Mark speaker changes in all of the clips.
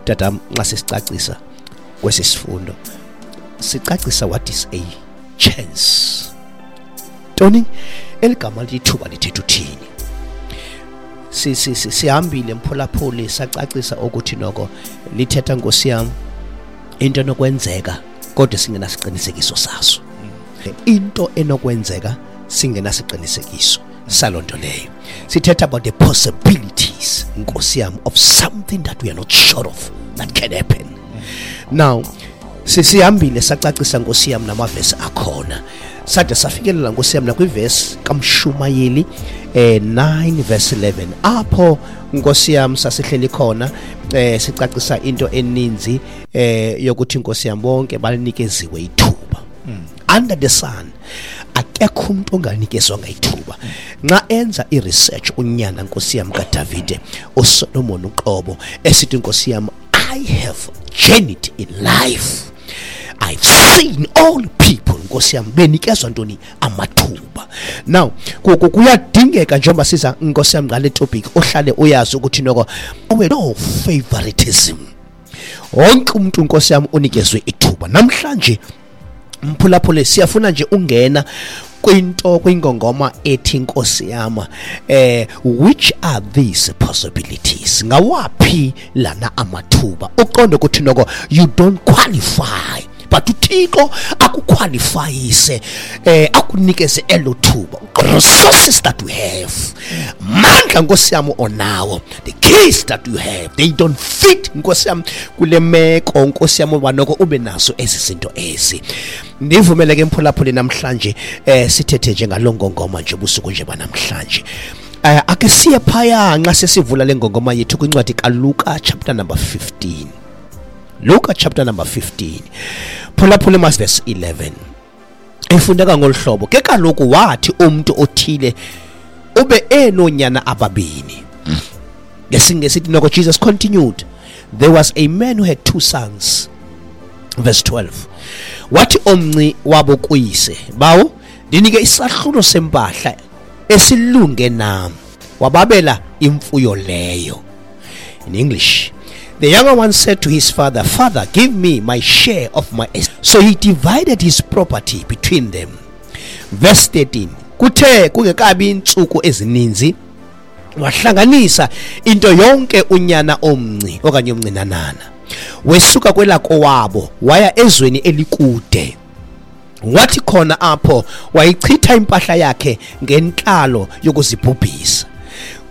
Speaker 1: Tatam, nxa sisicacisa kwesi sifundo, sicacisa what is a chance. Tony, eligama lithi ithuba lithetha uthini? Sihambile mphulaphuli, sacacisa ukuthi noko lithetha, nkosi yam, into enokwenzeka kodwa singenasiqinisekiso saso. Into enokwenzeka singenasiqinisekiso saloo nto leyo. Sithetha about the possibilities, nkosi yam, of something that we are not sure of that can happen. Now, sisihambile sacacisa, nkosi yam, namavesi akhona, sade safikelela, nkosi yam, nakwivesi kaMshumayeli 9 verse 11, apho, nkosi yam, sasihleli khona sicacisa into eninzi yokuthi, nkosi yam, bonke balinikeziwe ithuba. Under the sun akekho umuntu onganikezwanga ithuba. Nxa enza i-research unyana, nkosi yam, kaDavide uSolomon uqobo, esithi, nkosi yam, "I have journeyed in life, I've seen all people, nkosi yam, benikezwa ntoni? Amathuba." Now kuyadingeka njengoba siza, nkosi yam, ngale topic, ohlale uyazi ukuthi noko no favoritism, wonke umuntu, nkosi yam, unikezwe ithuba. Namhlanje mphulaphule, siyafuna nje ungena kwinto, kwingongoma ethi, nkosi yam, which are these possibilities? Ngawaphi lana amathuba uqonde ukuthi noko you don't qualify, but uThixo akuqualifyise, akunikeze elo thuba? Resources that we have, mandla, nkosi yam, onawo, the keys that you have, they don't fit, nkosi yam, kule meko, nkosi yam, uba noko ube nazo ezi zinto ezi. Ndivumele ke mphulaphuli, namhlanje sithethe nje ngalo ngongoma nje ubusuku nje banamhlanje. Ake siye phaya nxa sesivula le ngongoma yethu kwincwadi kaLuka chapter number 15. Luka chapter number 15, phulaphula, mas verse 11 ifundeka ngolu hlobo: "Ke kaloku wathi umntu othile ube enoonyana ababini." NgesiNgesi ithi noko, "Jesus continued, there was a man who had two sons." Verse 12: "Wathi omnci wabo kuyise, 'Bawo, ndinike isahlulo sempahla esilunge nam.' Wababela imfuyo leyo." In English, "The younger one said to his father, 'Father, give me my share of my estate.' So he divided his property between them." Verse 13: "Kuthe kungekabi intsuku ezininzi, wahlanganisa into yonke unyana omnci okanye omncinanana, wesuka kwelakowabo waya ezweni elikude, wathi khona apho wayichitha impahla yakhe ngentlalo yokuzibhubhisa."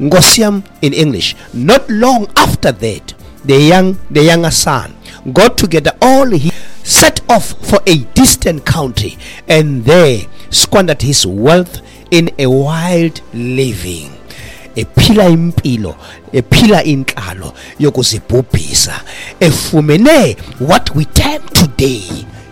Speaker 1: Nkosi yam, in English, "Not long after that, the younger son got together all he set off for a distant country and there squandered his wealth in a wild living." Ephila impilo, ephila intlalo yokuzibhubhisa, efumene what we term today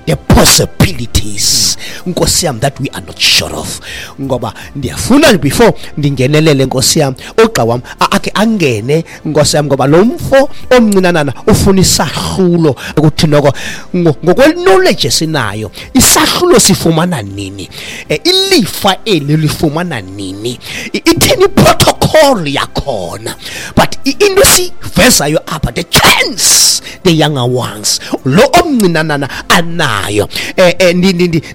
Speaker 1: the possibilities, nkosi yam, that we are not sure of. Ngoba ndiyafuna before ndingenelele, nkosi yam, ugxa wam akhe angene, nkosi yam, ngoba lo mfo omncinanana ufuna isahlulo, ukuthi noko ngokwe-knowledge esinayo, isahlulo sifumana nini? Ilifa eli lifumana nini? Ithini iprotocol yakhona? But into esivezayo apha, the chance the younger ones, lo omncinanana anayo,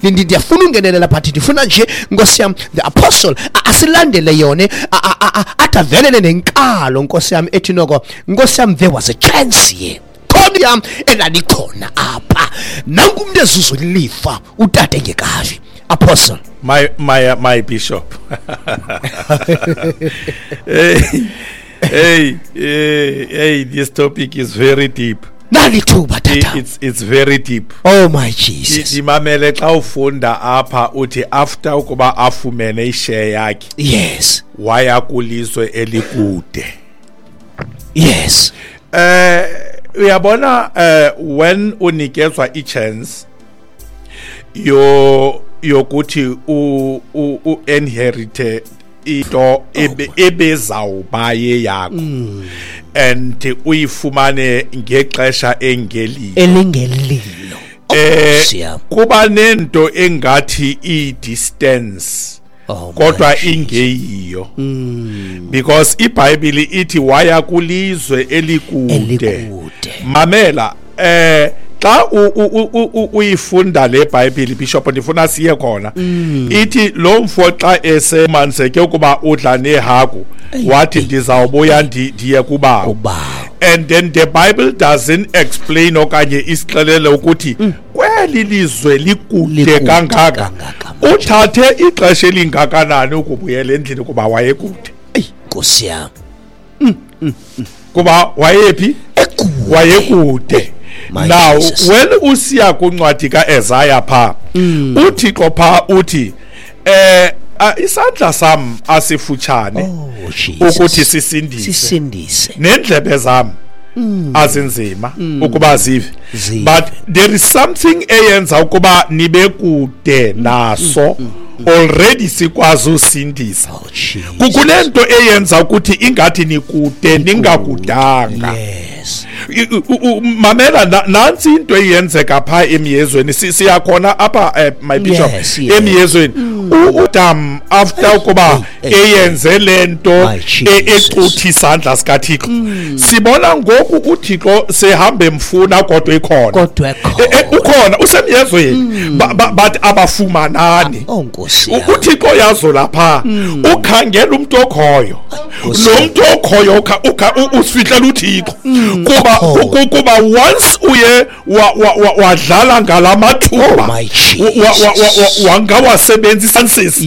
Speaker 1: ndiyafuna ungenelela, but ndifuna nje, nkosi yam, the apostle asilandele yona, athi avelele nenkalo, nkosi yam, ethi noko, nkosi yam, there was a chance here, khona yam elalikhona apha. Nanku umntu ezuza ilifa utata engekafi. Apostle.
Speaker 2: My bishop. Hey, hey, hey, hey, this topic is very deep.
Speaker 1: Nali thuba, tata.
Speaker 2: It's very deep.
Speaker 1: Oh my Jesus.
Speaker 2: Ndimamele xa ufunda apha, uthi after ukuba afumene ishare yakhe, waya kulizwe elikude. Uyabona, when unikezwa i-chance yo yokuthi u inherit into ebezawuba yeyakho and uyifumane ngexesha engelilo,
Speaker 1: elingelilo. Siyam.
Speaker 2: Kuba nento engathi i-distance.
Speaker 1: Oh,
Speaker 2: Kodwa
Speaker 1: my Jesus.
Speaker 2: ingeyiyo, because iBhayibheli ithi waya kulizwe elikude.
Speaker 1: Elikude.
Speaker 2: Mamela, xa uyifunda le Bhayibheli, Bishop, ndifuna siye khona. Ithi lo mfo xa esemanzeke ukuba udla nehagu, wathi ndizawubuya ndiye kubawo.
Speaker 1: Kubawo.
Speaker 2: And then the Bible doesn't explain okanye isixelele ukuthi kweli lizwe likude
Speaker 1: Likude
Speaker 2: kangaka,
Speaker 1: kangaka manje.
Speaker 2: uthathe ixesha elingakanani ukubuyela endlini, kuba wayekude.
Speaker 1: Eyi, Nkosi yam.
Speaker 2: Kuba wayephi?
Speaker 1: Ekude.
Speaker 2: Wayekude.
Speaker 1: My
Speaker 2: Now
Speaker 1: Jesus.
Speaker 2: when usiya kwincwadi kaEsaya pha, uThixo pha uthi isandla sam asifutshane
Speaker 1: Oh, Jesus.
Speaker 2: ukuthi sisindise,
Speaker 1: Sisindise.
Speaker 2: nendlebe zam azinzima ukuba zive.
Speaker 1: Zive.
Speaker 2: But there is something eyenza ukuba nibe kude naso already sikwazi usindisa.
Speaker 1: Oh, Jesus.
Speaker 2: Kunento eyenza ukuthi ingathi nikude ningakudanga.
Speaker 1: Yes.
Speaker 2: Mamela, nantsi into eyenzeka phaa emyezweni. Siyakhona apha, my bishop.
Speaker 1: Yes.
Speaker 2: Emyezweni uAdam, after ukuba eyenze le nto
Speaker 1: My Jesus.
Speaker 2: ecutha isandla sikaThixo, sibona ngoku uThixo sehambe emfuna, kodwa ikhona.
Speaker 1: Kodwa ekhona.
Speaker 2: Ukhona, usemyezweni, but abafumanani.
Speaker 1: Oh, Nkosi yam.
Speaker 2: UThixo yazo lapha ukhangela umuntu okhoyo.
Speaker 1: Nkosi.
Speaker 2: Lo muntu okhoyo usifihlela uThixo, kuba
Speaker 1: Okhoyo.
Speaker 2: kuba once uye wadlala ngalamathuba,
Speaker 1: Oh, my Jesus.
Speaker 2: wangawasebenzisa chances.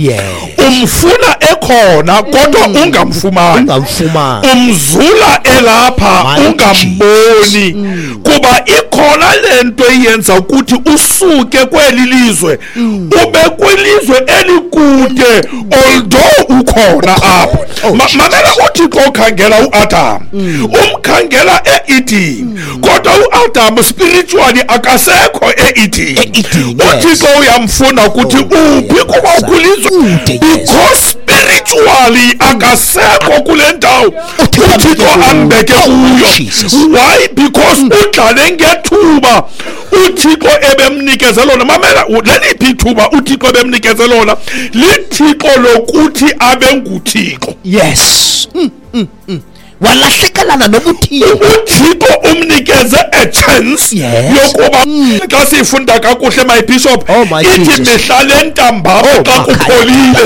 Speaker 2: Umfuna ekhona kodwa ungamfumani.
Speaker 1: Ungamfumani.
Speaker 2: Umzula elapha,
Speaker 1: My
Speaker 2: ungamboni, kuba ikhona lento eyenza ukuthi usuke kweli lizwe ube kwilizwe elikude, although ukhona apho.
Speaker 1: Oh, Jesus.
Speaker 2: Mamela, uThixo ukhangela uAdam, umkhangela eEden, kodwa uAdam spiritually akasekho eEden.
Speaker 1: E-Eden, yes.
Speaker 2: uThixo uyamfuna ukuthi
Speaker 1: Oh,
Speaker 2: uphi, kuba
Speaker 1: yes.
Speaker 2: ukwilizwe,
Speaker 1: Kude, yes.
Speaker 2: because spiritually akasekho kule ndawo
Speaker 1: uThixo
Speaker 2: uThixo
Speaker 1: ambeke
Speaker 2: ambeke
Speaker 1: kuyo.
Speaker 2: kuyo.
Speaker 1: Oh, Jesus.
Speaker 2: Why? Because udlale ngethuba uThixo ebemnikeze lona. Mamela, leliphi ithuba uThixo ebemnikeze lona? Lithixo lokuthi abe nguThixo.
Speaker 1: Yes. Walahlekelana nobuthixo.
Speaker 2: uThixo umnikeze a chance yokuba, xa siyifunda kakuhle, my bishop,
Speaker 1: Oh, my
Speaker 2: ithi
Speaker 1: Jesus.
Speaker 2: mihla le ntambama
Speaker 1: Oh,
Speaker 2: xa
Speaker 1: makhaya.
Speaker 2: kupholile,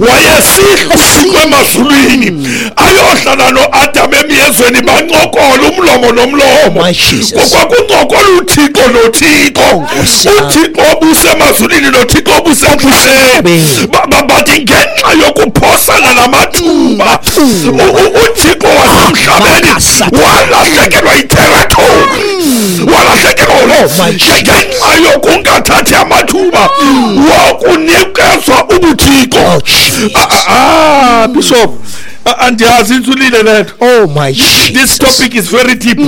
Speaker 2: wayesihla uThixo emazulwini ayohlala noAdam emyezweni, bancokola umlomo nomlomo.
Speaker 1: My Jesus.
Speaker 2: Kwakuncokola uThixo noThixo.
Speaker 1: Oh, Nkosi yam.
Speaker 2: uThixo obusemazulwini noThixo obusemhlabeni. But ngenxa yokuphosana namathuba, uThixo wasemhlabeni
Speaker 1: Makasata.
Speaker 2: walahlekelwa yiterritory, walahlekelwa
Speaker 1: Oh, my Jesus.
Speaker 2: ngenxa yokungathathi amathuba wokunikezwa ubuthixo.
Speaker 1: Oh, Jesus.
Speaker 2: Bishop, andiyazi, intsulile le nto.
Speaker 1: Oh, my Jesus.
Speaker 2: This topic is very deep.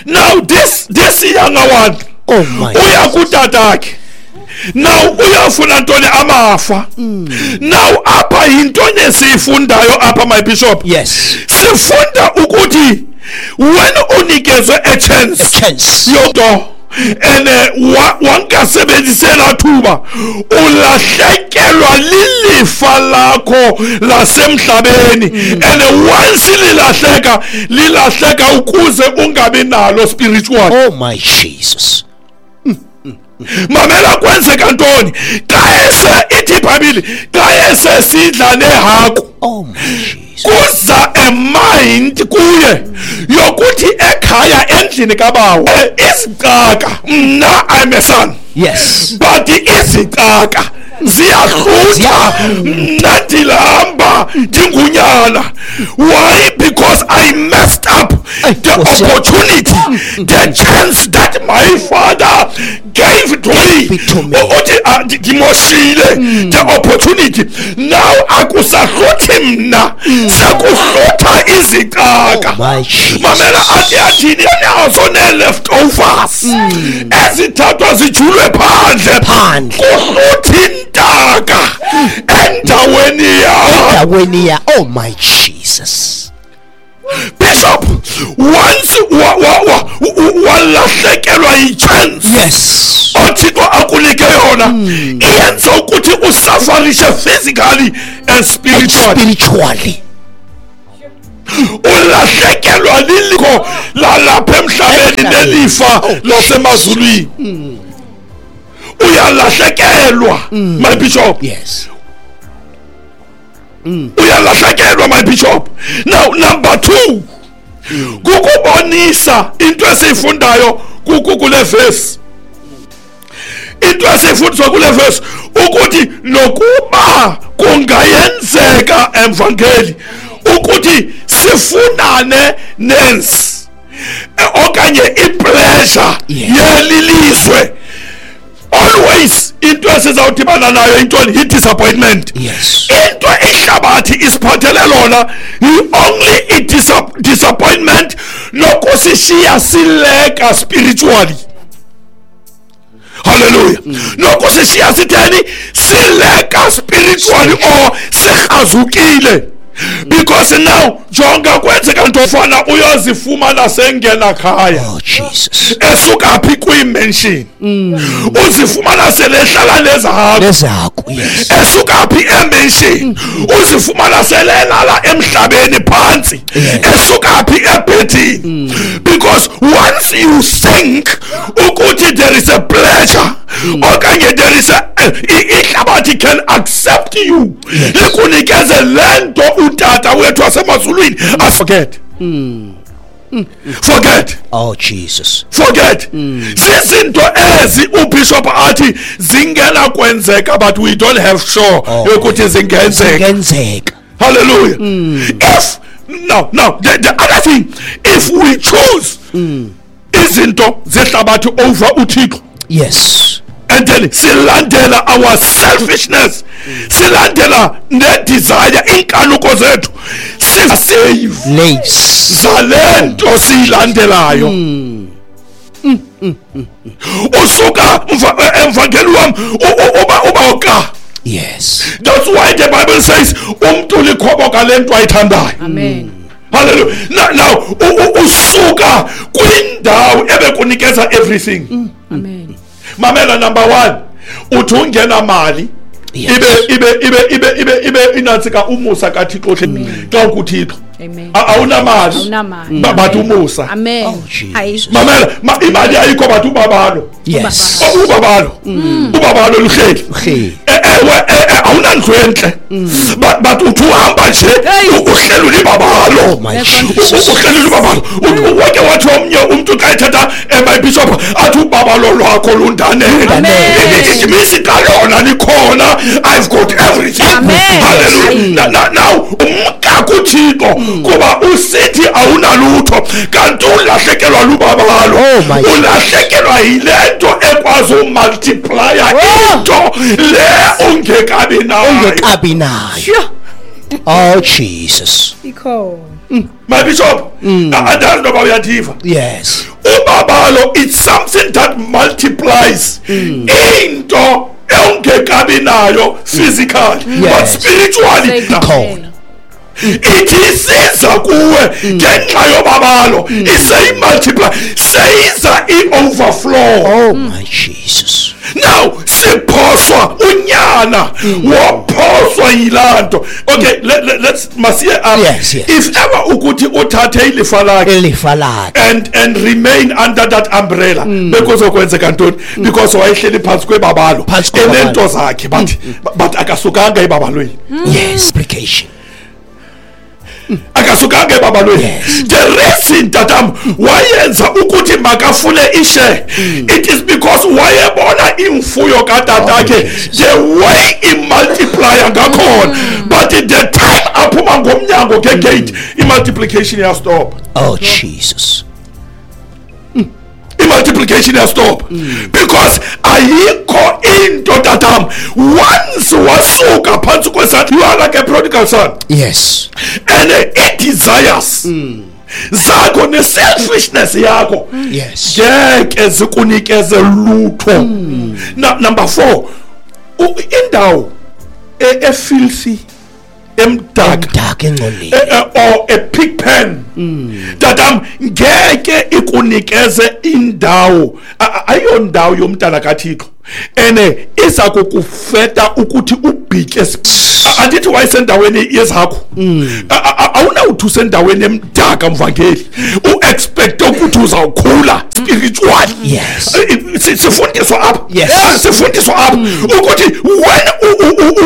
Speaker 2: Now this younger one
Speaker 1: Oh, my
Speaker 2: uya kutatakhe. Now uyafuna ntoni? Amafa. Now apha yintoni esiyifundayo apha, my bishop?
Speaker 1: Yes.
Speaker 2: Sifunda ukuthi when unikezwe a chance,
Speaker 1: A chance.
Speaker 2: yonto and wangasebenzisela thuba, ulahlekelwa lilifa lakho lasemhlabeni, and once lilahleka, lilahleka ukuze ungabi nalo spiritual.
Speaker 1: Oh, my Jesus.
Speaker 2: Mamela, kwenzeka ntoni xa ese, ithi iBhayibhile, xa esesidla nehagu,
Speaker 1: Oh, my Jesus.
Speaker 2: kuza a mind kuye yokuthi ekhaya endlini kabawo, izicaka, mna I'm a son, but izicaka ziyahlutha, mna ndilamba ndingunyana. Why? Because I messed up
Speaker 1: Ay,
Speaker 2: the
Speaker 1: Nkosi yam.
Speaker 2: opportunity, the chance that my father gave to me.
Speaker 1: Gave it to me.
Speaker 2: Uthi ndimoshile the opportunity. Now akusahluthi mna, sekuhlutha izicaka.
Speaker 1: Oh, my Jesus.
Speaker 2: Mamela, athi athini? Nazo nee-leftovers ezithathwa zijulwe phandle.
Speaker 1: Phandle.
Speaker 2: Kuhluthi intaka endaweni yawo.
Speaker 1: Endaweni ya. Oh, my Jesus.
Speaker 2: Bishop, once walahlekelwa yi-chance oThixo akunike yona, iyenza ukuthi Kukuthi usafarishe physically and spiritually. Ulahlekelwa liliko lalapha emhlabeni nelifa lasemazulwini. Uyalahlekelwa, my bishop.
Speaker 1: Yes.
Speaker 2: Uyalahlekelwa, my bishop. Now number 2, kukubonisa into esiyifundayo kule verse. Into esifundiswa kule verse ukuthi nokuba kungayenzeka emvangeli ukuthi sifunane nensi okanye i-pleasure yelilizwe, always into esizawudibana nayo intoni? I-disappointment.
Speaker 1: Yes.
Speaker 2: Into ihlabathi isiphathele lona only i-disappointment nokusishiya sileka spiritually. Hallelujah. Nokusishiya sitheni? Sileka spiritually or sihazukile. Because now jonga kwenzeka nto fana uyozifumana sengena khaya.
Speaker 1: Oh Jesus.
Speaker 2: Esuka phi kwi-mansion. Uzifumana selehlala nezakho.
Speaker 1: Yes.
Speaker 2: Esuka phi e-mansion. Uzifumana selelala emhlabeni phansi. Esuka phi ebhedini. Because once you think ukuthi there is a pleasure okanye there is a ihlabathi can accept you. Likunikeze lento utata wethu wasemazulwini. Forget. Forget.
Speaker 1: Oh Jesus.
Speaker 2: Forget. Zizinto ezi uBishop athi zingena kwenzeka, but we don't have sure yokuthi zingenzeka. Hallelujah. If now the other thing, if we choose izinto zehlabathi over uThixo.
Speaker 1: Yes.
Speaker 2: And then silandela our selfishness, silandela ne desire inkanuko zethu, sisave zalento silandelayo. Usuka emvangeli wam uba.
Speaker 1: Yes.
Speaker 2: That's why the Bible says umntu likhoboka lento ayithandayo.
Speaker 3: Amen.
Speaker 2: Hallelujah. Now usuka kwindawo ebekunikeza everything.
Speaker 3: Amen.
Speaker 2: Mamela, number 1, uthi ungena mali ibe inatsika umusa kaThixo xa kuThixo. Awunamali but umusa.
Speaker 3: Amen.
Speaker 2: Mamela, imali ayikho but ubabalo.
Speaker 1: Yes.
Speaker 2: Ubabalo. Ubabalo luhleli. Ewe awunandlu enhle. But uthi uhamba nje uhlelo libabalo. Uhlelo libabalo. Wonke wathi omnye umuntu xa ethetha my bishop athi ubabalo lwakho lundanele. It means ikalona likhona. I've got everything. Hallelujah. Now umka kuThixo kuba usithi awunalutho kanti ulahlekelwa lubabalo. Ulahlekelwa yilento ekwazi umultiplya into le ungekabi nayo.
Speaker 1: Oh Jesus.
Speaker 2: My bishop, andazi noba uyathiva.
Speaker 1: Yes.
Speaker 2: Ubabalo, it's something that multiplies into ongekabi nayo physically, but spiritually
Speaker 1: ikhona.
Speaker 2: Ithi isiza kuwe ngenxa yobabalo, iseyimultiply, seyiza i-overflow.
Speaker 1: Oh my Jesus.
Speaker 2: Now siphoswa unyana waphoswa yilanto. Okay, let's masiye up.
Speaker 1: Yes, yes.
Speaker 2: If ever ukuthi uthathe ilifa lakhe and remain under that umbrella, bekuzokwenzeka ntoni? Because wayehleli phansi kwebabalo enento zakhe, but akasukanga ebabalweni.
Speaker 1: Yes, application.
Speaker 2: Akasukanga ebabalweni. The reason tatam wayenza ukuthi makafune ishare, it is because wayebona imfuyo katatakhe the way imultiplier ngakhona, but the time aphuma ngomnyango ke gate, imultiplication yastop.
Speaker 1: Oh Jesus.
Speaker 2: Multiplication has stopped. Because ayikho into tatam once wasuka phansi kwesandla, you are like a prodigal son.
Speaker 1: Yes.
Speaker 2: And it desires zakho ne selfishness yakho.
Speaker 1: Yes.
Speaker 2: Ngeke zikunikeze lutho. Number 4, indawo efilthy, emdaka
Speaker 1: engcolile,
Speaker 2: or a pig pen, tatam ngeke ikunikeze indawo, ayondawo yomntana kaThixo. Ene iza kukufeta ukuthi ubhitye. Andithi wayesendaweni yezakho. Awunawuthi usendaweni emdaka, mvangeli, uexpecte ukuthi uzawukhula spiritually.
Speaker 1: Yes.
Speaker 2: Sifundiswa apha.
Speaker 1: Yes.
Speaker 2: Sifundiswa apha ukuthi when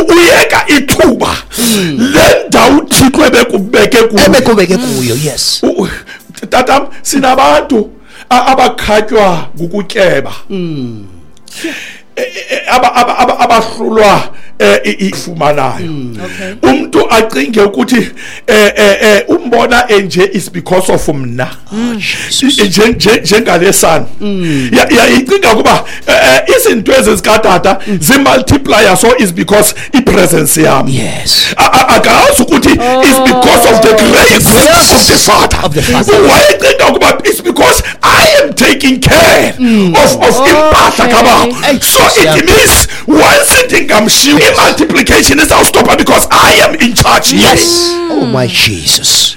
Speaker 2: uyeka ithuba le ndawo uThixo ebekubeke kuyo,
Speaker 1: ebekubeke kuyo, yes.
Speaker 2: Tatam, sinabantu abakhatywa ngukutyeba, abahlulwa ifumanayo. Umuntu acinge ukuthi umbona enje is because of mna. Njengalesana yayicinga kuba izinto ezikatata zimultiplier, so is because ipresence yami.
Speaker 1: Yes.
Speaker 2: Akazi ukuthi is because of the grace of the Father.
Speaker 1: Of the Father.
Speaker 2: Wayecinga ukuba it's because I am taking care of impahla kababa. So it means once ndingamshiya, i-multiplication izawustopha because I am in charge here.
Speaker 1: Yes. Oh my Jesus.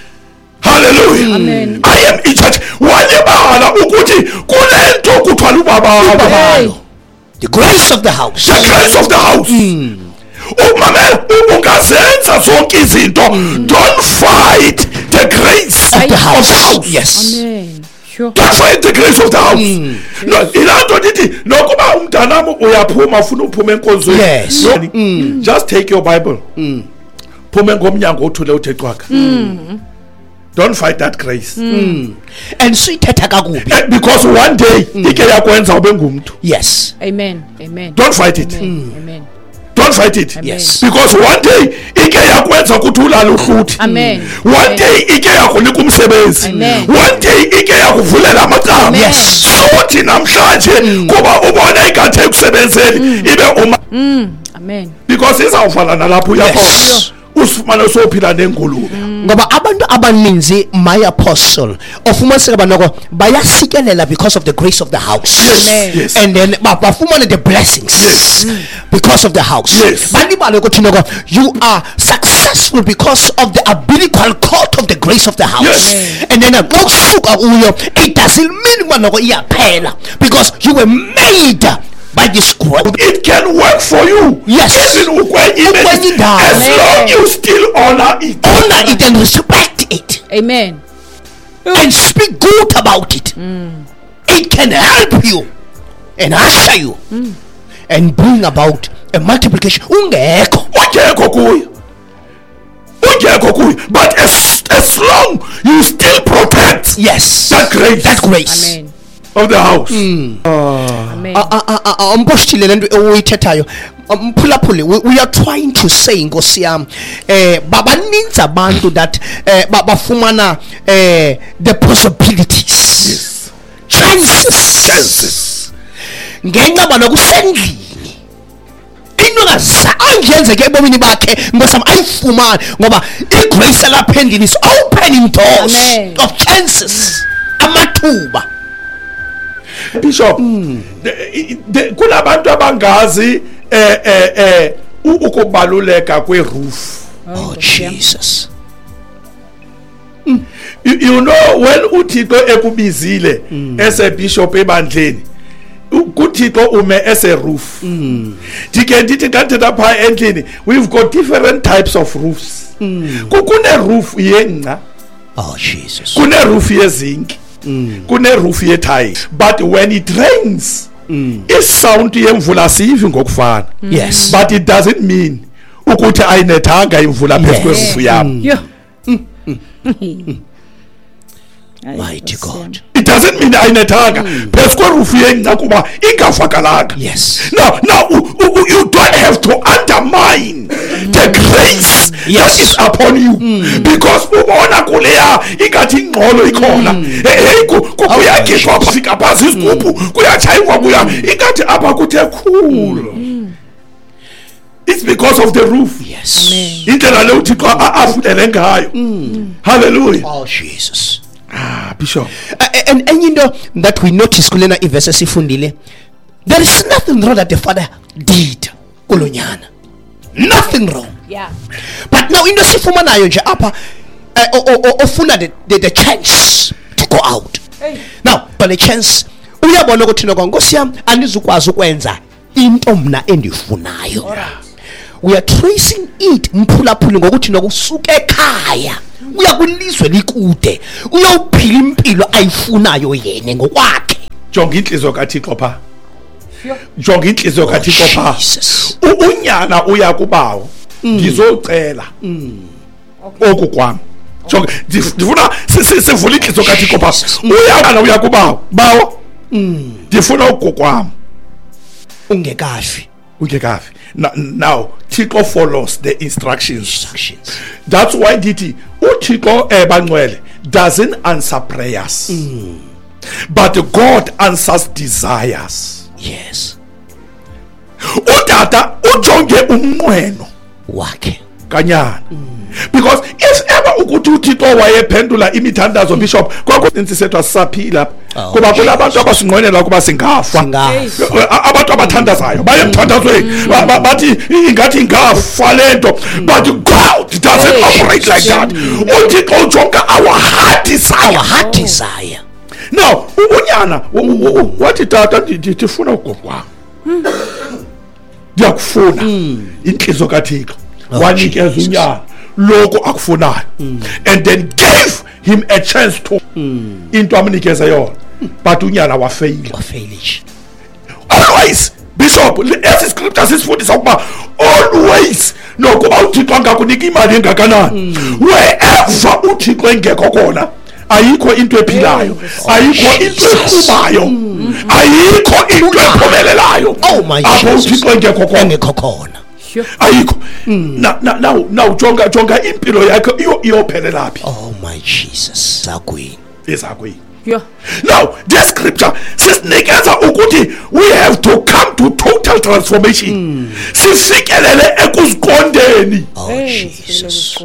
Speaker 2: Hallelujah.
Speaker 3: Amen.
Speaker 2: I am in charge. Walibala ukuthi kulento kuthiwa lubabalo.
Speaker 1: Ubabalo. The grace of the house.
Speaker 2: The grace of the house. Umamela, ungazenza zonke izinto. Don't fight the grace
Speaker 1: of the house.
Speaker 2: Of the house.
Speaker 1: Yes.
Speaker 3: Amen. Sure.
Speaker 2: Don't fight the grace of the house. No, ilaa ndithi nokuba umntanam uyaphuma, ufuna uphuma enkonzweni.
Speaker 1: Yes.
Speaker 2: No, just take your Bible. Phume ngomnyango uthule uthe cwaka. Don't fight that grace.
Speaker 1: And suyithetha kakubi.
Speaker 2: Because one day ike yakwenza ube ngumntu.
Speaker 1: Yes.
Speaker 3: Amen. Amen.
Speaker 2: Don't fight it.
Speaker 3: Amen. Amen.
Speaker 2: Don't fight it.
Speaker 3: Amen.
Speaker 1: Yes.
Speaker 2: Because one day ike yakwenza ukuthi ulale uhluthi.
Speaker 3: Amen.
Speaker 2: One
Speaker 3: Amen.
Speaker 2: day ike yakunika umsebenzi.
Speaker 3: Amen.
Speaker 2: One day ike yakuvulela amacala.
Speaker 3: Amen.
Speaker 1: Yes.
Speaker 2: Sothi namhlanje kuba ubona ingathi ekusebenzeni ibe uma
Speaker 3: Amen.
Speaker 2: because izawuvala nalapho uyakhona.
Speaker 1: Yes.
Speaker 2: Usifumane sophila nengulube.
Speaker 1: Ngoba abantu abaninzi, my apostle, ofumaniseka banoko bayasikelela because of the grace of the house.
Speaker 2: Yes.
Speaker 3: Amen.
Speaker 2: Yes.
Speaker 1: And then bafumane the blessings
Speaker 2: Yes.
Speaker 1: because of the house.
Speaker 2: Yes.
Speaker 1: Balibale ukuthi noko you are successful because of the umbilical cord of the grace of the house.
Speaker 2: Yes.
Speaker 1: And then xa usuka kuyo, it doesn't mean uba noko iyaphela, because you were made by this growth.
Speaker 2: It can work for you.
Speaker 1: Yes.
Speaker 2: Even ukwenye
Speaker 1: Ukwenye indawo.
Speaker 2: as long you still honor it.
Speaker 1: Honor it and respect it.
Speaker 3: Amen.
Speaker 1: And speak good about it. It can help you and usher you and bring about a multiplication. Ungekho.
Speaker 2: Ungekho kuyo. Ungekho kuyo. But as long you still protect
Speaker 1: Yes.
Speaker 2: that grace
Speaker 1: That grace.
Speaker 3: Amen.
Speaker 2: of the house.
Speaker 3: Amen.
Speaker 1: Umpostile, le nto uyithethayo, mphulaphuli, we are trying to say, nkosi yam, babaninzi abantu that bafumana the possibilities.
Speaker 2: Yes.
Speaker 1: Chances.
Speaker 2: Chances.
Speaker 1: Ngenxa banokusendlini into engazange yenzeke ebomini bakhe, nkosam, ayifumane ngoba igrace yalapha endlini is opening doors
Speaker 3: Amen.
Speaker 1: of chances, amathuba.
Speaker 2: Bishop, kunabantu abangazi ukubaluleka kweroof.
Speaker 1: Oh Jesus.
Speaker 2: You know when uThixo ekubizile as a bishop ebandleni, kuThixo ume as a roof. Ndike ndithi xa ndithetha phaa endlini, we've got different types of roofs. Kune roof yengca,
Speaker 1: Oh Jesus.
Speaker 2: kune roof yezinki, kune roof yethayi. But when it rains, isound yemvula siyivi ngokufana.
Speaker 1: Yes.
Speaker 2: But it doesn't mean ukuthi ayinethanga imvula phezu
Speaker 1: Yes.
Speaker 2: kweroof yam.
Speaker 3: Yo.
Speaker 1: Mighty God.
Speaker 2: It doesn't mean ayinethanga phezu kweroof yengca kuba ingavakalanga.
Speaker 1: Yes.
Speaker 2: Now you don't have to undermine the grace
Speaker 1: Yes.
Speaker 2: that is upon you because ubona kuleya ingathi ingxolo ikhona. Hey, kuyagidwa fika phantsi isigubhu, kuyatshaywa, kuya ingathi apha kuthe khulu. It's because of the roof.
Speaker 1: Yes.
Speaker 2: Indlela le uThixo afudele ngayo. Hallelujah.
Speaker 1: Oh Jesus.
Speaker 2: Ah, Bishop.
Speaker 1: And enye into that we notice kulena ivesi esifundile, there is nothing wrong that the father did kulo nyana. Nothing wrong.
Speaker 3: Yeah.
Speaker 1: But now into esifumanayo nje apha, ofuna the chance to go out.
Speaker 3: Hey.
Speaker 1: Now, but the chance uyabona ukuthi noko, nkosi yam, andizukwazi ukwenza Into mna endifunayo. We are tracing it mphulaphuli ngokuthi nokusuka ekhaya uya kwilizwe likude uyophila impilo ayifunayo yena ngokwakhe.
Speaker 2: Jonga inhliziyo kaThixo pha. Jonga inhliziyo kaThixo pha. Unyana uya kubawo ngizocela oku kwami. Jonga ndifuna sivule inhliziyo kaThixo pha. Uyana uya kubawo, bawo ndifuna oku kwami.
Speaker 1: Ungekafi.
Speaker 2: Ungekafi. Now Thixo follows the instructions. That's why ndithi uThixo ebangcwele doesn't answer prayers. But God answers desires.
Speaker 1: Yes.
Speaker 2: Utata ujonge umnqweno
Speaker 1: wakhe
Speaker 2: kanyana. Because if ever ukuthi uThixo wayephendula imithandazo Bishop, kwakuninzi sethu asisaphila kuba kunabantu abasinqwenela kuba singafa. Abantu abathandazayo baye emthandazweni bathi ingathi ingafa lento, but God doesn't operate like that. uThixo ujonga our heart desire.
Speaker 1: Our heart desire.
Speaker 2: Now unyana wathi tata ndifuna ugogo wami, ndiyakufuna. Inhliziyo kaThixo wanikeza unyana lokho akufunayo, and then gave him a chance to into amnikeza yona, but unyana wafeyila. Always Bishop, esi scripture sisifundisa ukuba always nokuba uThixo angakunika imali engakanani, wherever uThixo engekho khona ayikho into ephilayo, ayikho into eqhubayo, ayikho into ephumelelayo. Apho uThixo engekho
Speaker 1: khona
Speaker 2: ayikho. Now jonga impilo yakho iyophelela phi?
Speaker 1: Oh my Jesus. Zakwini.
Speaker 2: Ezakwini. Yeah. Now this scripture sisinikeza ukuthi we have to come to total transformation. Sifikelele ekuziqondeni.
Speaker 1: Oh Jesus.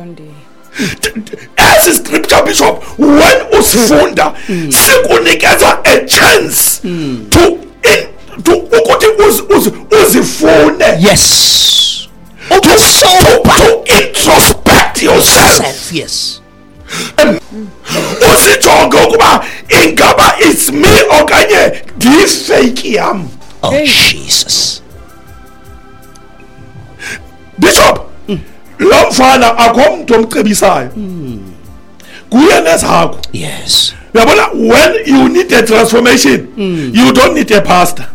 Speaker 2: As a scripture Bishop, when usifunda sikunikeza a chance to ukuthi uzifune.
Speaker 1: Yes.
Speaker 2: To introspect yourself.
Speaker 1: Yes.
Speaker 2: Usijonge ukuba ingaba it's me okanye ndifake yam.
Speaker 1: Oh Jesus.
Speaker 2: Bishop, lo mfana akho mntu omcebisayo. Kuye nezakho.
Speaker 1: Yes.
Speaker 2: Uyabona, when you need a transformation, you don't need a pastor.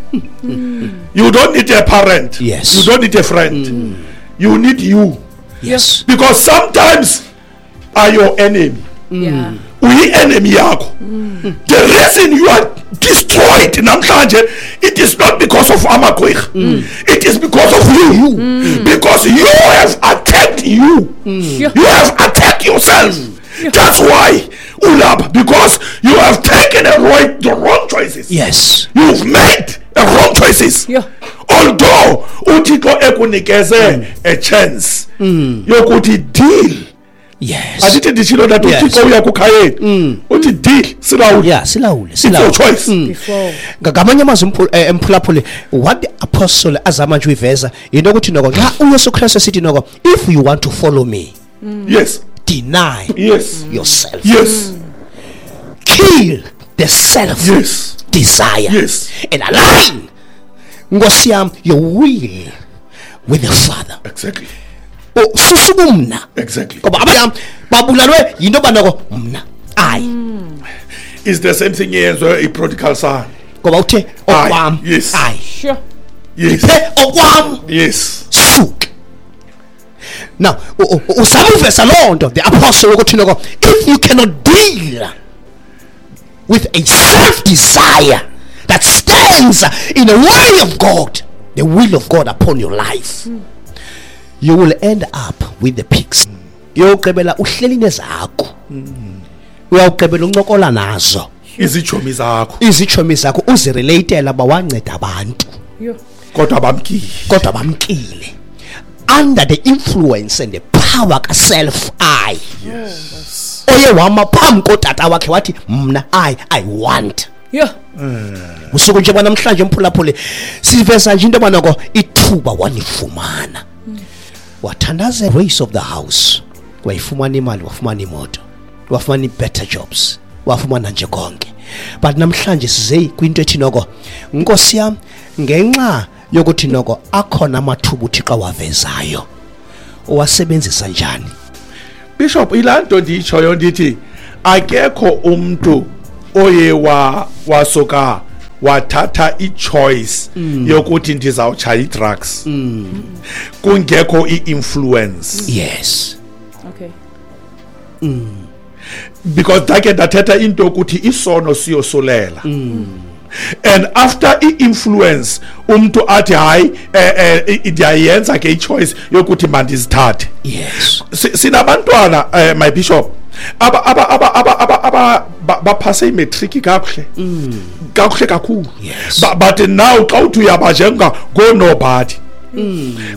Speaker 2: You don't need a parent.
Speaker 1: Yes.
Speaker 2: You don't need a friend. You need you.
Speaker 1: Yes.
Speaker 2: Because sometimes are your enemy.
Speaker 3: Yeah.
Speaker 2: Uyi enemy yakho. The reason you are destroyed namhlanje, it is not because of amagqwirha. It is because of you. Because you have attacked you. You have attacked yourself. That's why ulapha, because you have taken the wrong choices.
Speaker 1: Yes.
Speaker 2: You've made the wrong choices.
Speaker 3: Yeah.
Speaker 2: Although uThixo ekunikeze a chance yokuthi deal.
Speaker 1: Yes.
Speaker 2: Asithi nditshilo that uThixo uya kukhayeni. Uthi deal silawule.
Speaker 1: Yeah, silawule.
Speaker 2: It's your choice.
Speaker 1: Ngamanye amazwi emphulaphuli, what the apostle azama nje uyiveza into ukuthi noko xa uYesu Kristu sithi noko, if you want to follow me,
Speaker 2: yes,
Speaker 1: deny
Speaker 2: yes
Speaker 1: yourself.
Speaker 2: Yes.
Speaker 1: Kill the self.
Speaker 2: Yes.
Speaker 1: Desire.
Speaker 2: Yes.
Speaker 1: And align Nkosi yam your will with the Father.
Speaker 2: Exactly.
Speaker 1: Susubumna.
Speaker 2: Exactly.
Speaker 1: Ngoba abanye babulalwe yinto banako mna. Ayi.
Speaker 2: Is the same thing yenziwe i-prodigal son.
Speaker 1: Ngoba uthe okwam.
Speaker 2: Yes.
Speaker 1: Ayi.
Speaker 3: Sure.
Speaker 2: Yes.
Speaker 1: Okwam.
Speaker 2: Yes.
Speaker 1: Suke. Now, usamuvesa loo nto the apostle ukuthi noko, if you cannot deal with a self-desire that stands in the way of God, the will of God upon your life, you will end up with the pigs. Uyawugqibela uhleli nezakho. Uyawugqibela uncokola nazo.
Speaker 2: Izitshomi zakho.
Speaker 1: Izitshomi zakho uzirelatela bawanceda abantu.
Speaker 2: Kodwa bamkile.
Speaker 1: Kodwa bamkile. Under the influence and the power ka self I.
Speaker 2: Yes.
Speaker 1: Oye wama phambi kotata wakhe wathi mna I want.
Speaker 3: Yeah.
Speaker 1: Usuku nje namhlanje mphulaphule siveza nje into banako ithuba walifumana. Wathandaza race of the house. Wayifumana imali, wafumana imoto, wafumana better jobs, wafumana nje konke. But namhlanje size kwinto ethi noko Nkosi yami ngenxa Yokuthi noko akhona amathuba uThixo awavezayo. Owasebenzisa njani?
Speaker 2: Bishop, ilanto ndiyitshoyo ndithi akekho umntu oye wasuka wathatha i-choice yokuthi ndizawutshaya i-drugs kungekho i-influence.
Speaker 1: Yes.
Speaker 3: Okay.
Speaker 2: Because ndake ndathetha into yokuthi isono siyosulela. And after i-influence umntu athi hayi, ndiyayenza ke i-choice yokuthi mandizithathe.
Speaker 1: Yes.
Speaker 2: Sinabantwana, my bishop, aba aba aba aba aba aba baphase imatric kakuhle. Kakuhle kakhulu.
Speaker 1: Yes.
Speaker 2: But now xa uthi uyabajenga go-nobody.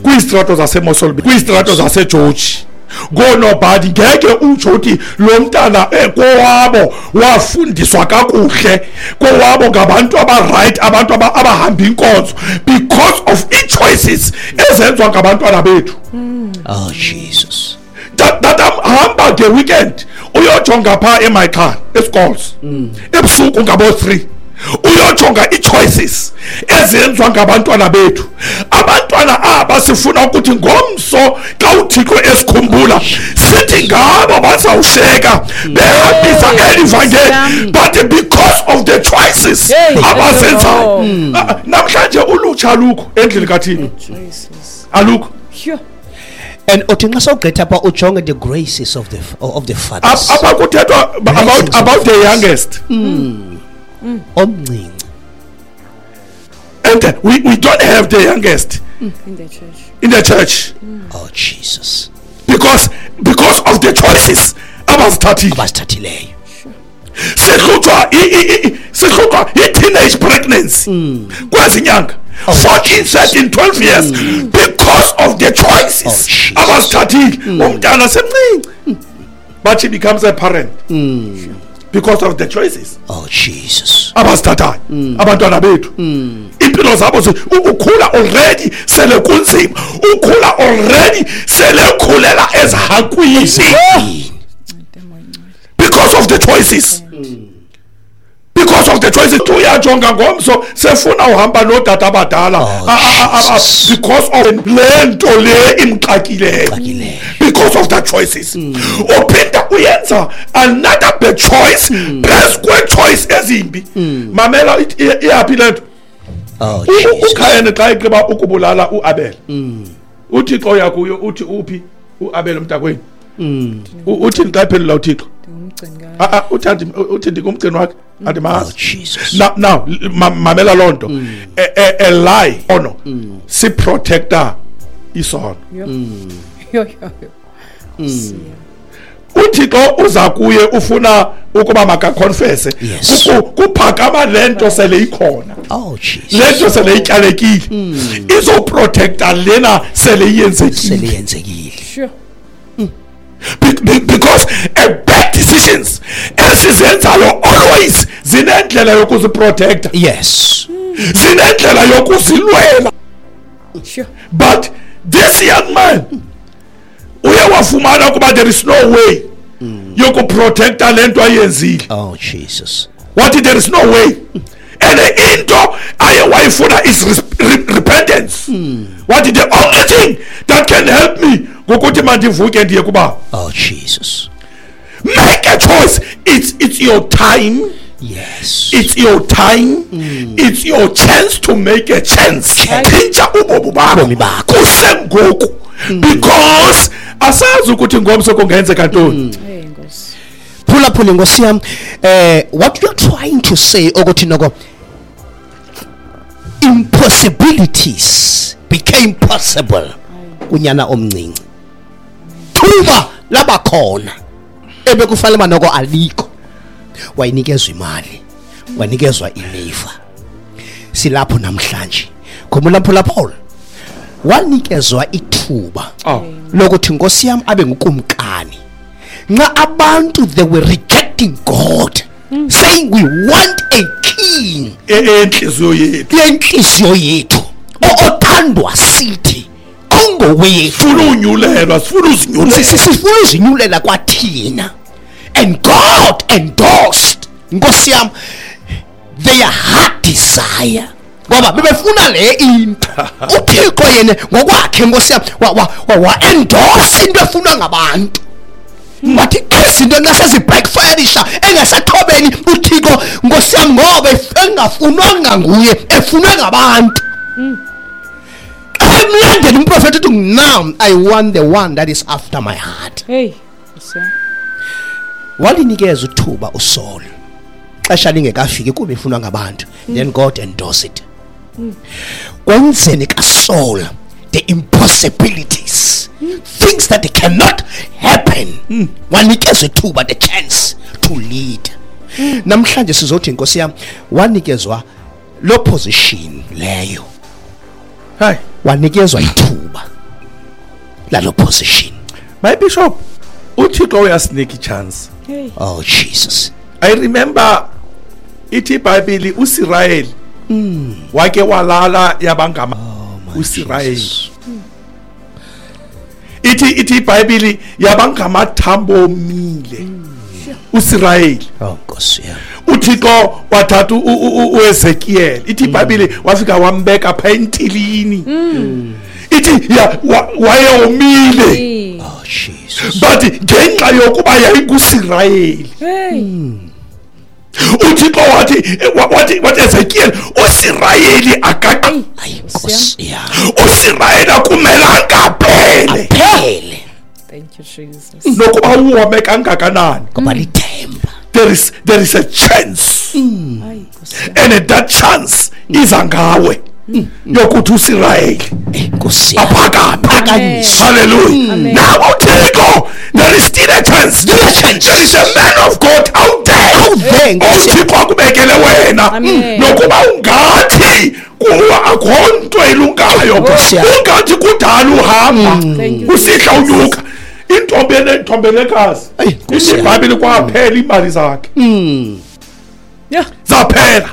Speaker 2: Kwizitrato zaseMossel, kwizitrato zaseGeorge. Go-nobody, ngeke utsho uthi lo mntana kowabo wafundiswa kakuhle, kowabo ngabantu aba-right, abantu abahamba inkonzo, because of ii-choices ezenziwa ngabantwana bethu.
Speaker 1: Oh Jesus.
Speaker 2: Tata, hamba nge-weekend uyojonga phaa eMichael eScholes ebusuku ngabo-3, uyojonga ii-choices ezenziwa ngabantwana bethu. Abantwana aba sifuna ukuthi ngomso xa uThixo esikhumbula sithi ngabo bazawusheka behambisa eli vangeli, but because of the choices abazenzayo. Namhlanje ulutsha alukho endlini kaThixo, alukho.
Speaker 1: And uthi nxa sawugqitha pha ujonge the graces of the fathers.
Speaker 2: Apha kuthethwa about the youngest.
Speaker 1: Omncinci.
Speaker 2: And we don't have the youngest
Speaker 3: in the church.
Speaker 2: In the church.
Speaker 1: Oh Jesus.
Speaker 2: Because of the choices abazithathileyo. Sihlutshwa i-teenage pregnancy. Kwezi nyanga 14, 13, 12 years because of the choices abazithathile. Umntana semncinci, but she becomes a parent. Because of the choices.
Speaker 1: Oh Jesus.
Speaker 2: Abazithathayo abantwana bethu. Impilo zabo ukhula already sele kunzima, ukhula already sele khulela ezihakwini. Because of the choices. Because of the choices. Uyajonga ngomso sefuna uhamba nodada abadala because of le nto le imxakileyo. Because of the choices. Uphinda uyenza another bad choice, phezu kwe-choice ezimbi. Mamela, iyaphi le nto? UKhayeni xa egqiba ukubulala uAbel, uThixo uya kuyo uthi uphi uAbel umntakwenu? Uthini xa ephendula uThixo? Uthi ndingumgcini wakhe, andimazi. Now mamela loo nto. A lie ono siprotecta isono. uThixo uza kuye ufuna ukuba makaconfesse. Kuphakama le nto sele ikhona.
Speaker 1: Oh Jesus.
Speaker 2: Le nto sele ityalekile. Izoprotecta lena sele iyenzekile.
Speaker 3: Sure.
Speaker 2: Because a bad decisions esizenzayo always zinendlela yokuziprotecta.
Speaker 1: Yes.
Speaker 2: Zinendlela yokuzilwela.
Speaker 3: Sure.
Speaker 2: But this young man uye wafumana kuba there is no way yokuprotecta le nto ayenzile.
Speaker 1: Oh Jesus.
Speaker 2: What, there is no way. And into aye wayifuna is repentance. What, the only thing that can help me ngokuthi mandivuke ndiye kuba.
Speaker 1: Oh Jesus.
Speaker 2: Make a choice. It's your time.
Speaker 1: Yes.
Speaker 2: It's your time. It's your chance to make a chance. Tshintsha ubomi bakho kusengoku. Because asazi ukuthi ngomso kungenzeka ntoni.
Speaker 1: Phulaphula Nkosi yam, what you are trying to say ukuthi noko impossibilities became possible kunyana omncinci. Thuba labakhona ebekufanele noko alikho. Wayinikezwa imali, wanikezwa ilifa. Silapho namhlanje. Khumbula Paul wanikezwa ithuba lokuthi Nkosi yam abe ngukumkani. Nxa abantu they were rejecting God, saying we want a king.
Speaker 2: Enhliziyo yethu.
Speaker 1: Enhliziyo yethu. Othandwa sithi ongowethu.
Speaker 2: Sifuna unyulelwa, sifuna uzinyulela.
Speaker 1: Sifuna uzinyulela kwathina. And God endorsed Nkosi yam their heart desire. Ngoba bebefuna le into. UThixo yena ngokwakhe Nkosi yami wa endorse into efunwa ngabantu. Wathi izinto ngasezi backfireisha engasathobeni uThixo Nkosi yami, ngoba engafunwanga nguye, efunwe ngabantu. Emlandela umprofeti uthi, now I want the one that is after my heart.
Speaker 3: Hey.
Speaker 1: Walinikeza uthuba uSaul xesha lingekafiki kuba ifunwa ngabantu. Then God endorse it. Kwenzeni kaSaul the impossibilities, things that cannot happen, wanikezwa ithuba, the chance to lead. Namhlanje sizothi Nkosi yami, wanikezwa lo position leyo.
Speaker 2: Hey,
Speaker 1: wanikezwa ithuba lalo position.
Speaker 2: My bishop, uThixo uyasinika ichance.
Speaker 3: Hey.
Speaker 1: Oh Jesus.
Speaker 2: I remember ithi iBhayibheli uSirayeli wake walala yabangama uSirayeli. Ithi iBhayibheli yabangamathambo omile uSirayeli.
Speaker 1: Oh Nkosi yami.
Speaker 2: uThixo wathatha uEzekiel. Ithi iBhayibheli wafika wambeka pha entilini. Ithi wayewomile.
Speaker 1: Oh Jesus.
Speaker 2: But ngenxa yokuba yayinguSirayeli.
Speaker 3: Hey.
Speaker 2: uThixo wathi Ezekiel, uSirayeli
Speaker 1: Ayi Nkosi yami.
Speaker 2: uSirayeli akumelanga aphele.
Speaker 1: Aphele.
Speaker 3: Thank you Jesus.
Speaker 2: Nokuba uwome kangakanani,
Speaker 1: ngoba lithemba.
Speaker 2: There is a chance.
Speaker 3: Ayi Nkosi.
Speaker 2: And that chance iza ngawe yokuthi uSirayeli
Speaker 1: Nkosi yami.
Speaker 2: aphakame.
Speaker 1: Phakanyiswe.
Speaker 2: Hallelujah.
Speaker 3: Amen.
Speaker 2: Now uThixo, there is still a chance.
Speaker 1: There is
Speaker 2: a man of God out there.
Speaker 1: Out there, Nkosi yami.
Speaker 2: uThixo akubekele wena.
Speaker 3: Amen.
Speaker 2: Nokuba ungathi kuwa akho nto elungayo,
Speaker 1: Nkosi yami.
Speaker 2: ungathi kudala uhamba
Speaker 3: Thank you.
Speaker 2: usihla unyuka. Intombi enentombelekazi.
Speaker 1: Ayi, Nkosi yami.
Speaker 2: IBhayibheli kwaphela imali zakhe.
Speaker 3: Yeah.
Speaker 2: Zaphela.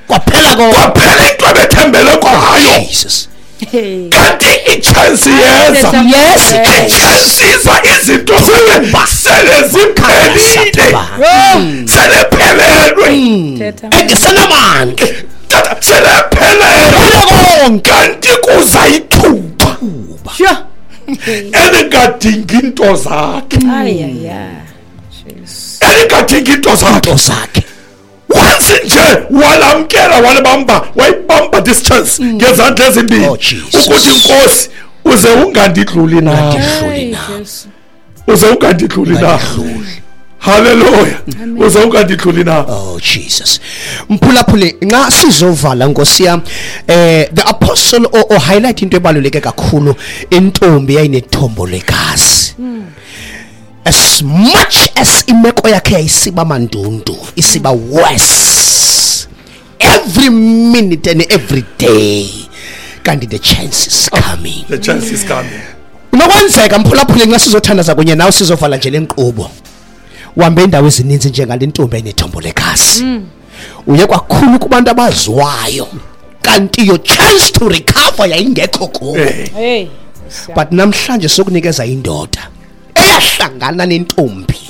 Speaker 1: Kwaphela konke.
Speaker 2: Kwaphela into ebethembele kwayo.
Speaker 1: Jesus.
Speaker 3: Hey.
Speaker 2: Kanti i-chance yeza.
Speaker 1: Yes.
Speaker 2: I-chance iza izinto sele ziphelile. Selephelelwe.
Speaker 3: Thetha.
Speaker 1: Engesenamandla.
Speaker 2: Tata selephelelwe.
Speaker 1: Konke.
Speaker 2: Kanti kuza ithuba
Speaker 3: Sure.
Speaker 2: elingadingi into zakhe.
Speaker 3: Ay ay ay. Jesus.
Speaker 2: Elingadingi into zakhe.
Speaker 1: Into zakhe.
Speaker 2: Once nje walamkela, walibamba, wayibamba this chance ngezandla ezimbili.
Speaker 1: Oh, Jesus.
Speaker 2: Ukuthi Nkosi uze ungandidluli na.
Speaker 1: Ungandidluli.
Speaker 3: Ay
Speaker 1: na.
Speaker 3: Jesu.
Speaker 2: Uze ungandidluli na.
Speaker 1: Ungandidluli.
Speaker 2: Hallelujah. Uze ungandidluli na.
Speaker 1: Oh Jesus. Mphulaphule, nxa sizovala Nkosi yami, the apostle o highlight into ebaluleke kakhulu, intombi yayinethombo legazi. As much as imeko yakhe yayisiba mandundu, isiba worse every minute and every day, kanti the chance is coming.
Speaker 2: The chance is coming.
Speaker 1: Unokwenzeka mphulaphule, nxa sizothandaza kunye nawe sizovala nje lenkqubo, uhambe indawo ezininzi njengale ntombi enethombo legazi. Uye kwakhulu kubantu abaziwayo, kanti your chance to recover yayingekho kubo.
Speaker 2: Eh.
Speaker 3: Hey.
Speaker 1: But namhlanje sokunikeza indoda eyahlangana nentombi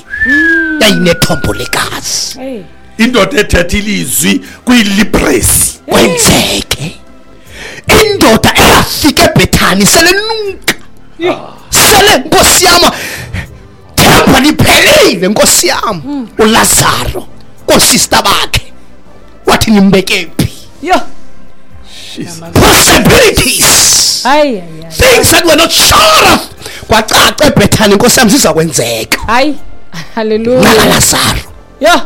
Speaker 1: yayinethombo legazi.
Speaker 3: Hey.
Speaker 2: Indoda ethetha ilizwi kuyilipresi.
Speaker 1: Kwenzeke. Indoda eyafika eBethani selenuka, sele Nkosi yami themba liphelile Nkosi yami. uLazaro kosista bakhe wathi nimbeke phi?
Speaker 3: Yo.
Speaker 1: Possibilities,
Speaker 3: Ay ay ay.
Speaker 1: things that were not sure of, kwacaca eBethani Nkosi yami zizakwenzeka.
Speaker 3: Ay. Hallelujah.
Speaker 1: NakaLazaro.
Speaker 3: Yo.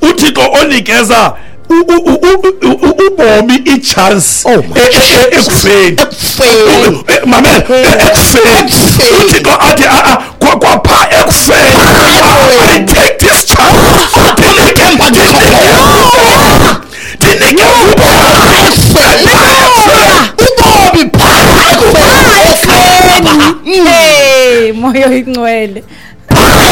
Speaker 2: uThixo onikeza ubomi i-chance
Speaker 1: Oh my
Speaker 2: ekufeni.
Speaker 1: Ekufeni.
Speaker 2: Mamela, ekufeni.
Speaker 1: Ekufeni.
Speaker 2: uThixo athi kwapha ekufeni, I take this chance. Ndinike ubomi.
Speaker 1: Ubomi pha ekufeni.
Speaker 3: Hey, moyo ingcwele.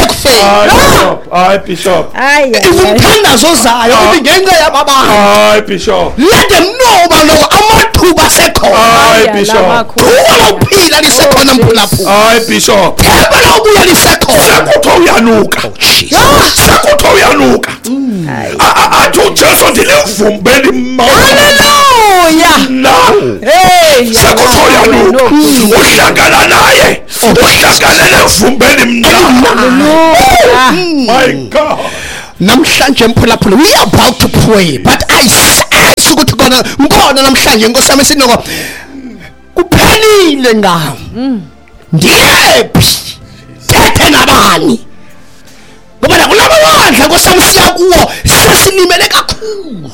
Speaker 1: Ekufeni.
Speaker 2: Hayi Bishop, hayi Bishop.
Speaker 3: Ay ay. ay.
Speaker 1: Umthandazo ozayo uthi ngenxa yababantu.
Speaker 2: Hayi Bishop.
Speaker 1: Let them know uba loko amathuba asekhona.
Speaker 2: Hayi
Speaker 3: Ay,
Speaker 2: Bishop.
Speaker 3: lamakhulu.
Speaker 1: Thuba lokuphila lisekhona mphulaphula.
Speaker 2: Hayi Bishop.
Speaker 1: Themba lokubuya lisekhona.
Speaker 2: Sekuthiwa uyanuka.
Speaker 1: Jesus.
Speaker 2: Sekuthiwa uyanuka. Athi uJesu ndilivumbe limawele.
Speaker 3: Hallelujah.
Speaker 2: Na
Speaker 3: Hey.
Speaker 2: Sekuthoyanuka uhlangana naye, uhlangane nevumbeni mnandi.
Speaker 3: Hallelujah.
Speaker 2: My God.
Speaker 1: Namhlanje mphulaphula, we are about to pray, but I sense ukuthi kona ngikhona namhlanje Nkosi yami sinoko kuphelile ngami. Ndiyephi? Thethe nabani? Ngoba la kulabo bandla Nkosi yami siya kuwo sesilimele kakhulu.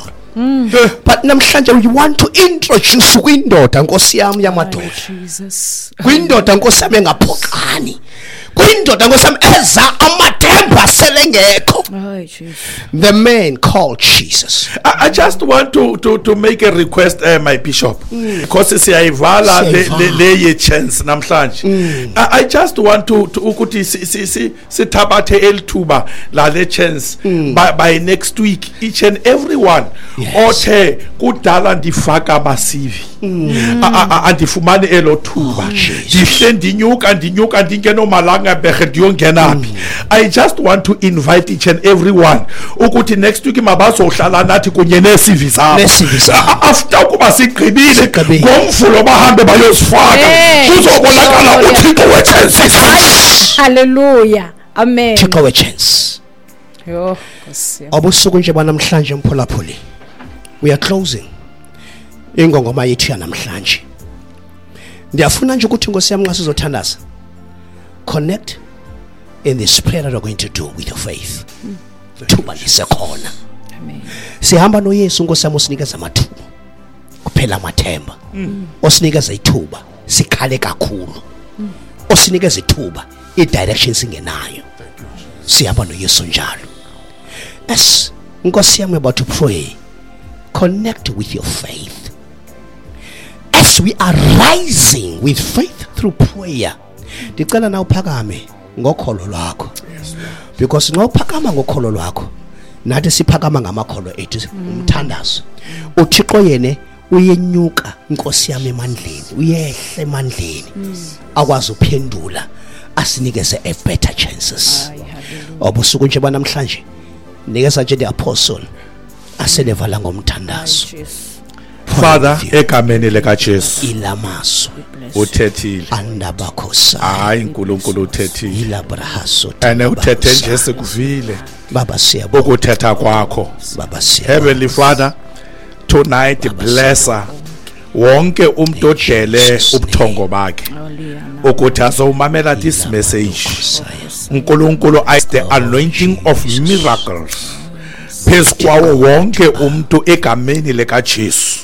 Speaker 1: But namhlanje we want to introduce kwindoda Nkosi yami yamadoda.
Speaker 3: Jesus.
Speaker 1: Kwindoda Nkosi yami engaphoqani. Kwindoda Nkosi yami eza amathemba selengekho.
Speaker 3: Ay Jesus.
Speaker 1: The man called Jesus.
Speaker 2: I just want to make a request, my bishop, because siyayivala
Speaker 1: Siyayivala.
Speaker 2: le ye chance namhlanje. I just want to ukuthi sithabathe elithuba la le chance by next week, each and everyone othe kudala ndifaka ama-CV, andifumani elo thuba, ndihle ndinyuka ndinyuka ndingenomalanga berhe ndiyongena phi. I just want to invite each and everyone ukuthi next week mabazohlala nathi kunye nee-CV zabo.
Speaker 1: Nee-CV zabo.
Speaker 2: After ukuba sigqibile
Speaker 1: Sigqibile.
Speaker 2: ngomvulo bahambe bayozifaka,
Speaker 3: Hey.
Speaker 2: kuzobonakala
Speaker 3: Hallelujah.
Speaker 2: uThixo we-chances.
Speaker 3: Hallelujah. Amen.
Speaker 1: Thixo we-chance.
Speaker 3: Yo, Nkosi yami.
Speaker 1: Obusuku nje banamhlanje mphulaphuli, we are closing ingongoma yethu yanamhlanje. Ndiyafuna nje ukuthi Nkosi yami nxa sizothandaza, connect in this prayer that we're going to do with your faith. Thuba lisekhona.
Speaker 3: Amen.
Speaker 1: Sihamba noYesu Nkosi yami osinikeza amathuba kuphela amathemba, osinikeza ithuba sikhale kakhulu, osinikeza ithuba i-direction singenayo. Sihamba noYesu njalo. As Nkosi yami about to pray, connect with your faith. As we are rising with faith through prayer, ndicela na uphakame ngokholo lwakho, because nxa uphakama ngokholo lwakho, nathi siphakama ngamakholo ethu umthandazo. uThixo yena uyenyuka Nkosi yami emandleni, uyehla emandleni, akwazi uphendula asinikeze a better chances.
Speaker 3: Ay, hallelujah.
Speaker 1: Obusuku nje banamhlanje nikeza nje the apostle aselevala ngomthandazo.
Speaker 3: Jesus.
Speaker 2: Father, egameni likaJesu,
Speaker 1: Ilamaso
Speaker 2: uthethile.
Speaker 1: andabakhosa
Speaker 2: Hayi, uNkulunkulu uthethile
Speaker 1: ilabrahaso.
Speaker 2: And uthethe nje sikuvile
Speaker 1: Baba siyabonga.
Speaker 2: ukuthetha kwakho.
Speaker 1: Baba siyabonga.
Speaker 2: Heavenly Father, tonight bless her. Wonke umuntu odele
Speaker 1: Jesus'
Speaker 2: ubuthongo bakhe
Speaker 3: Hallelujah.
Speaker 2: ukuthi azowumamela this message, uNkulunkulu, I the anointing of miracles phezu kwawo wonke umuntu egameni likaJesu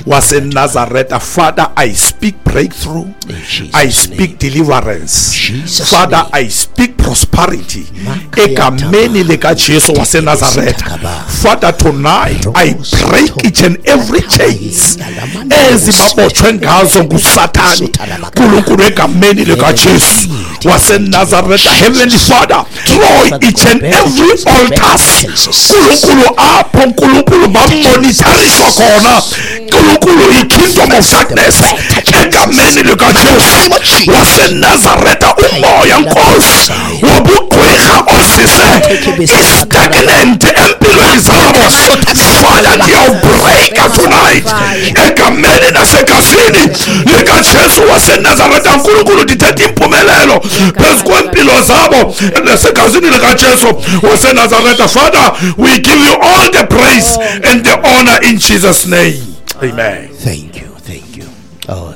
Speaker 2: waseNazaretha. Father, I speak breakthrough,
Speaker 1: In Jesus'
Speaker 2: I speak deliverance,
Speaker 1: Jesus'
Speaker 2: Father,
Speaker 1: name.
Speaker 2: I speak prosperity
Speaker 1: Makaya
Speaker 2: egameni likaJesu waseNazaretha. Father, tonight I break each and every chains ezibabotshwe ngazo nguSathane, uNkulunkulu, egameni likaJesu waseNazaretha. Heavenly Father, destroy each and every altars, uNkulunkulu, apho uNkulunkulu bamonithariswa khona, uNkulunkulu, i-kingdom of darkness egameni likaJesu waseNazaretha. Umoya Nkosi wobugqwirha ozise i-stagnant empilweni zabo, Father, ndiyawubreaka tonight egameni nasegazini likaJesu waseNazaretha. Nkulunkulu, ndithetha impumelelo phezu kwempilo zabo nasegazini likaJesu waseNazaretha. Father, we give you all the praise and the honor in Jesus' name, amen.
Speaker 1: Thank you, thank you. Oh,